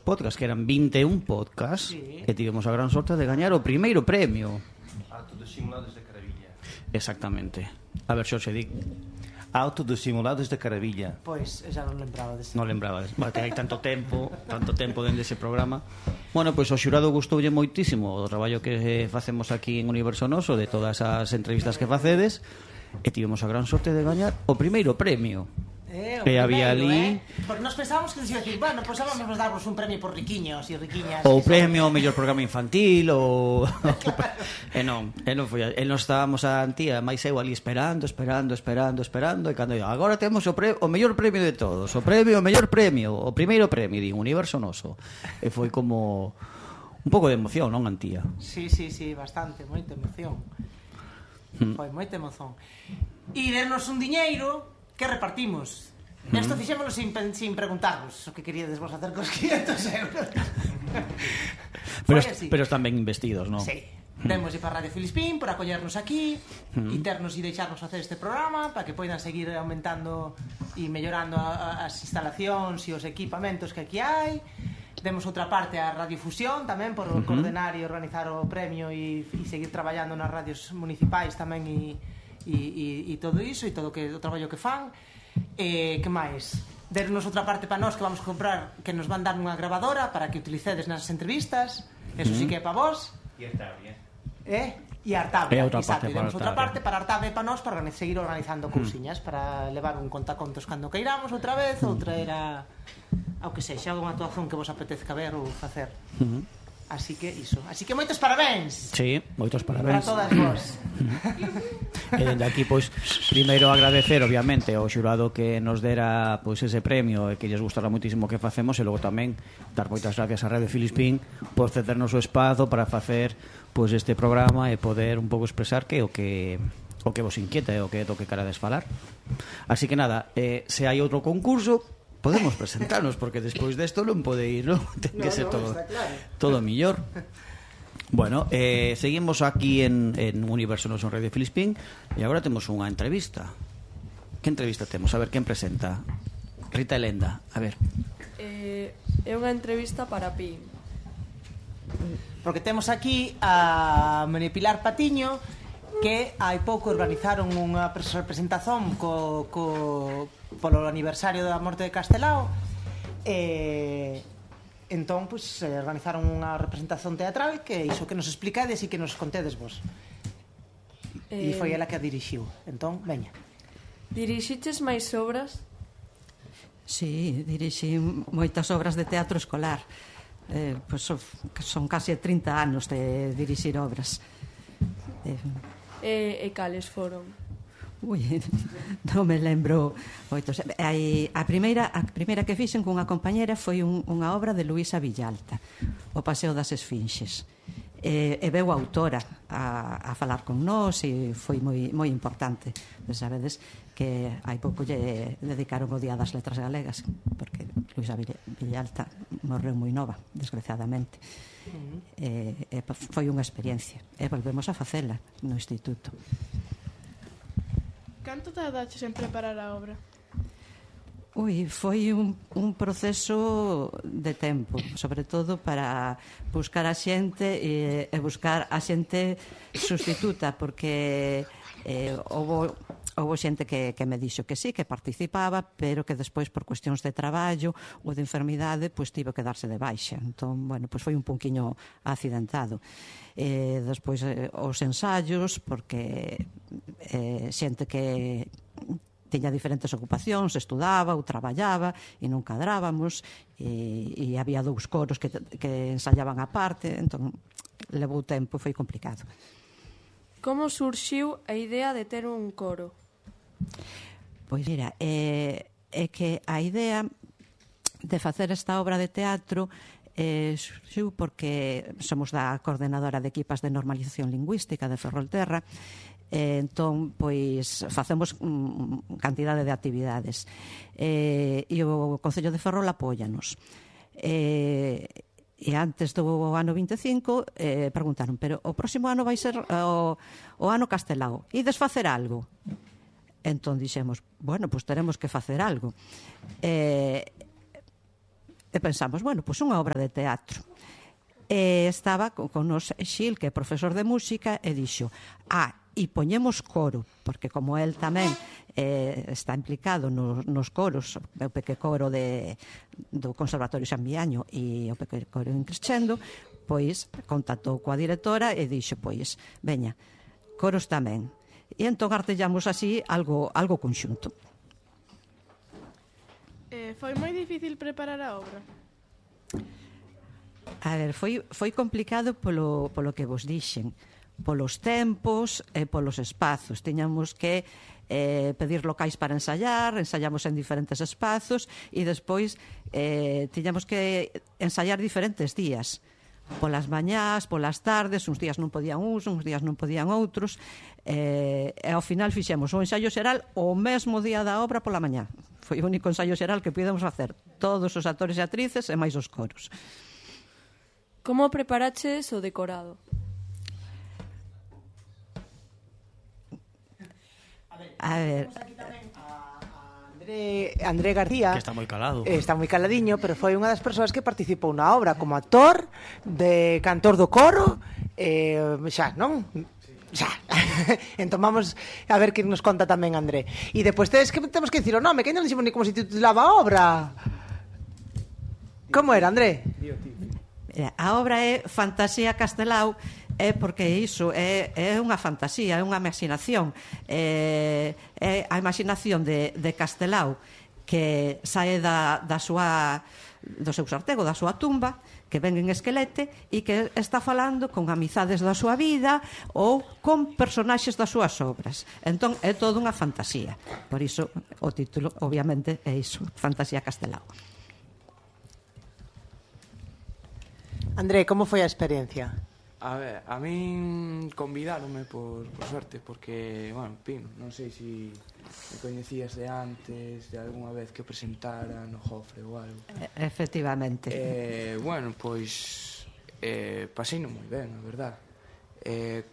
podcasts, que eran 21 podcasts, e tivemos a gran sorte de gañar o primeiro premio. Auto dos simulados de Caravilla. Exactamente. A ver, Xorxe, di. Auto dos simulados de Caravilla. Pois, xa non lembraba deste. Non lembrabades. Vale, que hai tanto tempo dentro dese programa. Bueno, pois o xurado gustoulle moitísimo o traballo que facemos aquí en Universo Noso, de todas as entrevistas que facedes, e tivemos a gran sorte de gañar o primeiro premio. E había ali porque nos pensábamos que nos iba a decir, bueno, pois vamos a darvos un premio por riquiños e riquiñas, o premio ao mellor programa infantil ou e non foi, e nos estábamos a Antía, máis eu ali esperando e cando eu, agora temos o mellor premio de todos, o mellor premio, o primeiro premio de Universo Noso, e foi como un pouco de emoción, non, Antía? Sí, bastante, moita emoción. Foi moita emoción. E dernos un diñeiro que repartimos. Esto fixémoslo sin preguntarvos o que queríades vos hacer cos 500 euros. Pero están ben investidos, non? Sí. Demos para Radio Filispín por acollernos aquí e ternos e deixarnos hacer este programa para que poidan seguir aumentando e mellorando as instalacións e os equipamentos que aquí hai. Demos outra parte a Radiofusión tamén por coordenar e organizar o premio e seguir traballando nas radios municipais tamén e todo iso e todo o traballo que fan. Que máis? Dernos outra parte para nós que vamos comprar, que nos van dar unha grabadora para que utilicedes nas entrevistas. Eso sí que é para vos. E Artabria. E Artabria, exacto. Demos outra parte para Artabria e para nós para seguir organizando cousiñas, para levar un contacontos cando queiramos outra vez, outra era ao que sexa, unha actuación que vos apetezca ver ou facer. Así que iso. Así que moitos parabéns. Sí, moitos parabéns. Para todas vos. E dende aquí, pois, primeiro agradecer, obviamente, ao xurado que nos dera pois ese premio e que lles gustara muitísimo o que facemos, e logo tamén dar moitas gracias a Radio Filispín por cedernos o espazo para facer pois este programa e poder un pouco expresar que o que vos inquieta e o que toque carades falar. Así que nada, se hai outro concurso, podemos presentarnos, porque despois desto non pode ir, non? Ten que ser todo millor. Bueno, seguimos aquí en Universo Noso en Radio Filispín e agora temos unha entrevista. Que entrevista temos? A ver, quen presenta? Rita Elenda, a ver. É unha entrevista para Pi. Porque temos aquí a María Pilar Patiño, que hai pouco organizaron unha presentación polo aniversario da morte de Castelao, entón organizaron unha representación teatral que iso que nos explicades e que nos contedes vos, e foi ela que a dirixiu. Entón, veña. Dirixiches máis obras? Sí, dirixi moitas obras de teatro escolar. Son case 30 anos de dirixir obras. E cales foron? Ui, non me lembro moitos. A primeira que fixen cunha compañera foi unha obra de Luisa Villalta, O Paseo das Esfinxes. E veu a autora a falar con nós e foi moi importante. Sabedes que hai pouco lle dedicaron o Día das Letras Galegas, porque Luisa Villalta morreu moi nova, desgraciadamente. Foi unha experiencia e volvemos a facela no instituto. Canto tardaches en preparar a obra? Foi un proceso de tempo, sobre todo para buscar a xente e buscar a xente sustituta, porque houve xente que me dixo que sí, que participaba, pero que despois por cuestións de traballo ou de enfermidade, pois tivo que darse de baixa. Entón, bueno, pois foi un pouquiño accidentado. Despois os ensaios, porque xente que tiña diferentes ocupacións, estudaba ou traballaba e non cadrábamos, e había dous coros que ensayaban a parte, entón levou tempo, foi complicado. Como surxiu a idea de ter un coro? Pois mira, é que a idea de facer esta obra de teatro surxiu porque somos da coordenadora de equipas de normalización lingüística de Ferrolterra. Entón, pois, facemos cantidade de actividades. E o Concello de Ferrol apóianos. E antes do ano 25 preguntaron, pero o próximo ano vai ser o ano Castelao, ides facer algo? Entón dixemos, bueno, pois teremos que facer algo. E pensamos, bueno, pois unha obra de teatro. E estaba con nos Xil, que é profesor de música, e dixo, e poñemos coro, porque como el tamén está implicado nos coros, o peque coro do Conservatorio San Miaño e o peque coro en Crescendo, pois contactou coa directora e dixo, pois, veña, coros tamén. E entón artellamos así algo conxunto. Foi moi difícil preparar a obra. A ver, foi complicado polo que vos dixen, polos tempos e polos espazos. Tiñamos que pedir locais para ensayar, ensayamos en diferentes espazos e despois tiñamos que ensayar diferentes días. Polas mañás, polas tardes, uns días non podían uns días non podían outros, e ao final fixemos o ensaio xeral o mesmo día da obra pola mañá. Foi o único ensaio xeral que pudemos facer, todos os actores e actrices e máis os coros. Como preparaches o decorado? A ver, André García, Que está moi calado. Está moi caladiño, pero foi unha das persoas que participou na obra como actor, de cantor do coro, xa, non? Xa. Entón vamos a ver que nos conta tamén André. E depois temos que dicir o nome, que non dixemos ni como se titulaba a obra. Como era, André? a obra é Fantasía Castelao, é porque iso é unha fantasía, é unha imaginación, é a imaginación de Castelao que sae do seu sartego, da súa tumba, que ven en esquelete e que está falando con amizades da súa vida ou con personaxes das súas obras. Entón é toda unha fantasía. Por iso o título obviamente é iso, Fantasía Castelao. André, como foi a experiencia? A ver, a min convidáronme por suerte, porque, bueno, Pino, non sei se me coñecías de antes, de algunha vez que o presentara no Jofre ou algo. Efectivamente. Bueno, pois paseino moi ben, a verdad.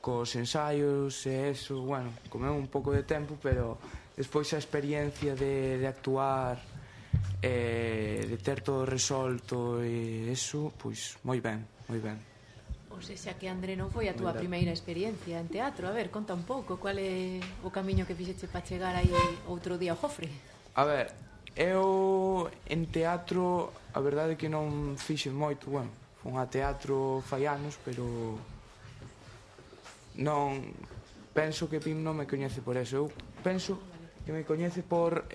Cos ensaios e eso, bueno, comeu un pouco de tempo, pero despois a experiencia de actuar, de ter todo resolto e eso, pois moi ben, moi ben. O sexa que, André, non foi a túa primeira experiencia en teatro. A ver, conta un pouco, cual é o camiño que fixeche para chegar aí outro día ao Jofre? A ver, eu en teatro, a verdade é que non fixen moito, bueno, fun a teatro fai anos, pero non, penso que Pim non me coñece por eso. Eu penso que me coñece por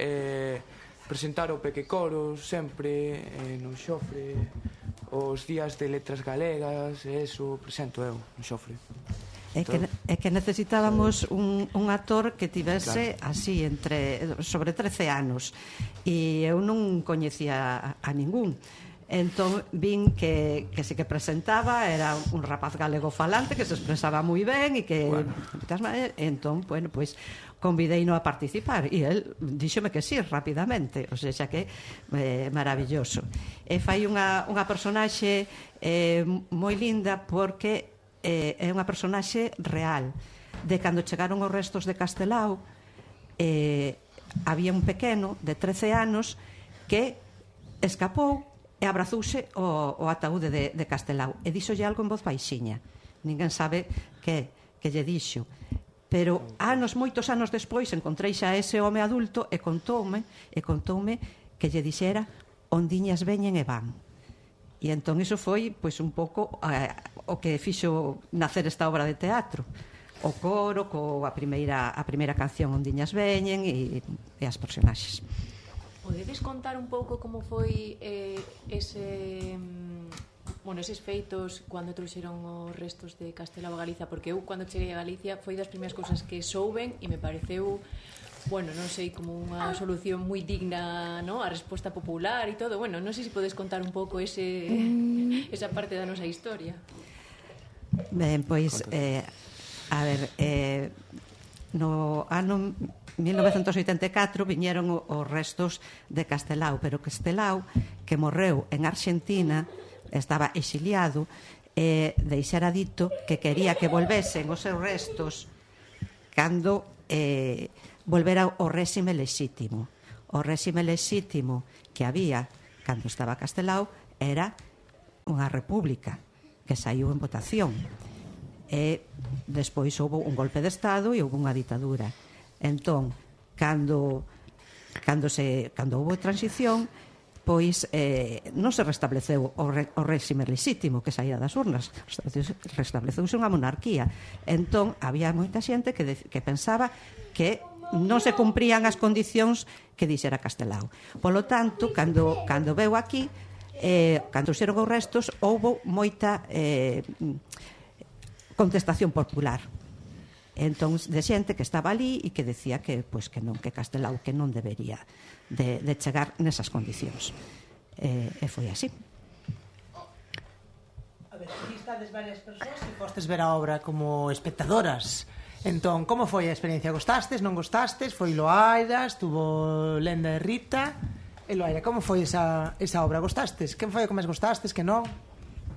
presentar o Pequecoro sempre no Xofre, os días de letras galegas, e eso presento eu no Xofre. É que necesitábamos un actor que tivese así sobre 13 anos e eu non coñecía a ningún. Entón vin que se que presentaba era un rapaz galego falante que se expresaba moi ben e que entón, bueno, pois convideino a participar e el díxome que sí, rapidamente, o sea que maravilloso. E fai unha personaxe moi linda porque é unha personaxe real de cando chegaron os restos de Castelao. Había un pequeno de 13 anos que escapou e abrazouse o ataúde de Castelao e díxolle algo en voz baixiña. Ninguén sabe que lle dixo, pero moitos anos despois encontrei xa ese home adulto e contoume que lle dixera: ondiñas veñen e van. E entón iso foi pois un pouco o que fixo nacer esta obra de teatro, o coro coa primeira canción Ondiñas veñen e as personaxes. Podedes contar un pouco como foi eses feitos cando trouxeron os restos de Castelao a Galicia? Porque eu, cando cheguei a Galicia, foi das primeiras cousas que souben e me pareceu, bueno, non sei, como unha solución moi digna, ¿no?, a resposta popular e todo. Bueno, non sei se podes contar un pouco esa parte da nosa historia. Ben, pois, a ver, no ano 1984 viñeron os restos de Castelao, pero Castelao, que morreu en Argentina, estaba exiliado, deixara dito que quería que volvesen os seus restos cando volvera o réxime lexítimo. O réxime lexítimo que había cando estaba Castelao era unha república que saiu en votación, e despois houve un golpe de Estado e houve unha ditadura. Entón, cando houve transición, pois non se restableceu o réxime lexítimo que saía das urnas, restableceuse unha monarquía. Entón, había moita xente que pensaba que non se cumprían as condicións que dixera Castelao. Polo tanto, cando veu aquí, cando xeron os restos, houve moita contestación popular. Entón, de xente que estaba ali e que decía que non, que Castelao que non debería de chegar nesas condicións. E foi así. A ver, aquí estades varias persoas e fostes ver a obra como espectadoras. Entón, como foi a experiencia? Gostastes, non gostastes? Foi Loaira, estuvo Lenda e Rita. E Loaira, como foi esa obra? Gostastes? Quen foi o que máis gostastes, que non?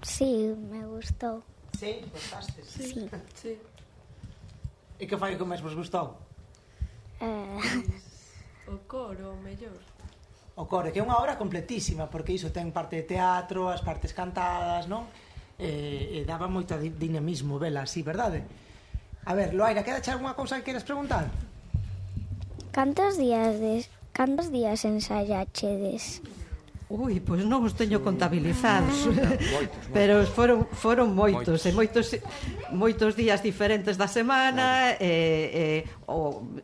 Sí, me gustou. Sí, gostastes? Sí. Sí. E que foi o que máis vos gustou? O coro, o mellor. O coro, que é unha obra completísima, porque iso ten parte de teatro, as partes cantadas, non? E daba moito dinamismo, vela así, verdade? A ver, Loaira, quedache algunha cousa que queres preguntar? Cantos días ensayachedes? Pois non os teño contabilizados, pero foron moitos, e moitos días diferentes da semana,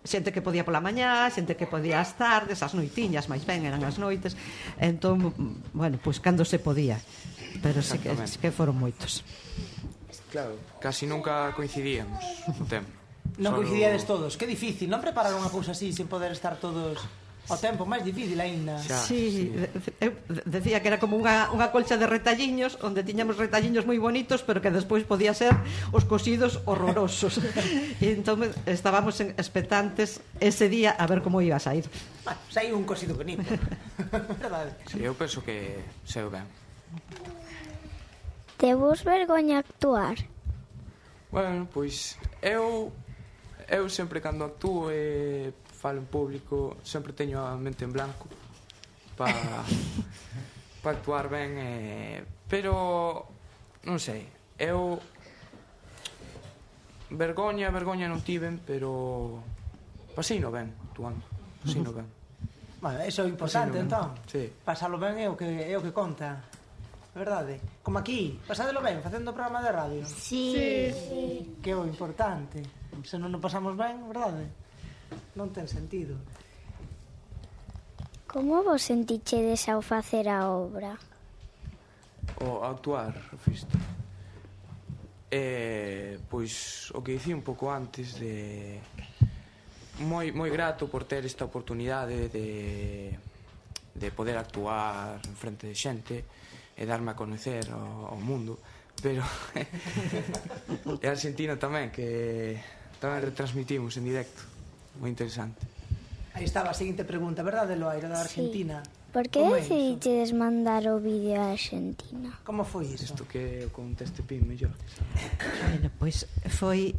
xente que podía pola mañá, xente que podía as tardes, as noitiñas, máis ben eran as noites. Entón, bueno, pois cando se podía, pero sí que foron moitos. Claro, casi nunca coincidíamos no tempo. Non coincidíades todos, que difícil, non preparar unha cousa así sen poder estar todos ao tempo, máis difícil aínda. Sí, eu decía que era como unha colcha de retalliños, onde tiñamos retalliños moi bonitos, pero que despois podía ser os cosidos horrorosos. E entón estábamos expectantes ese día a ver como iba a sair. Bueno, saiu un cosido bonito. Verdade? Sí, eu penso que saiu ben. Tevos vergoña actuar? Bueno, pois eu sempre cando actúo e falo en público sempre teño a mente en blanco para actuar ben, pero non sei, eu vergoña non tiven, pero paseino ben actuando, paseino ben. Bueno, eso é importante, entón. Sí. Pasalo ben é o que conta. Verdade? Como aquí, pasadelo ben, facendo programa de radio. Sí. Que é o importante. Se non nos pasamos ben, verdade? Non ten sentido. Como vos sentichedes ao facer a obra? O actuar, fisto. Pois o que dicía un pouco antes de moi grato por ter esta oportunidade de poder actuar en frente de xente e darme a conocer ao mundo, pero e Argentina tamén, que tamén retransmitimos en directo, moi interesante. Aí estaba a seguinte pregunta, verdade, Loaira, da Argentina? Sí. Por que decidiches mandar o vídeo a Argentina? Como foi iso? Isto que o conteste Pin mellor. Bueno, pois foi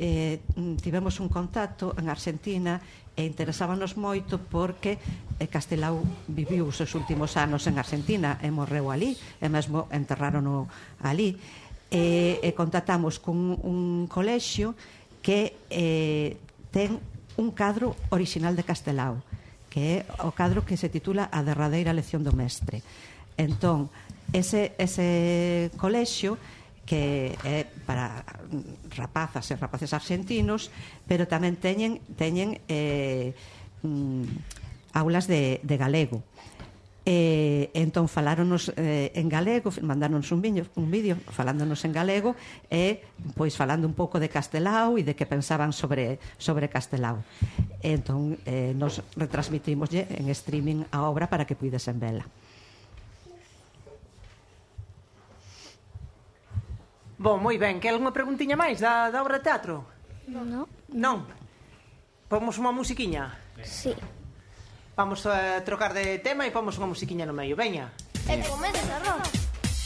tivemos un contacto en Argentina e interesábanos moito porque Castelao viviu os seus últimos anos en Argentina e morreu ali, e mesmo enterrarono ali, e contactamos con un colexio que ten un cadro orixinal de Castelao, que é o cadro que se titula A derradeira lección do mestre. Entón, ese colexio, que é para rapazas e rapaces argentinos, pero tamén teñen aulas de galego. Entón faláronos en galego, mandáronos un vídeo falándonos en galego e pois falando un pouco de Castelao e de que pensaban sobre Castelao. Entón nos retransmitimoslle en streaming a obra para que puidesen vela. Bom, moi ben, que algunha preguntiña máis da obra de teatro? Non? Pomos unha musiquiña? Sí. Vamos a trocar de tema e pomos unha musiquiña no medio, veña. E comeza a rock.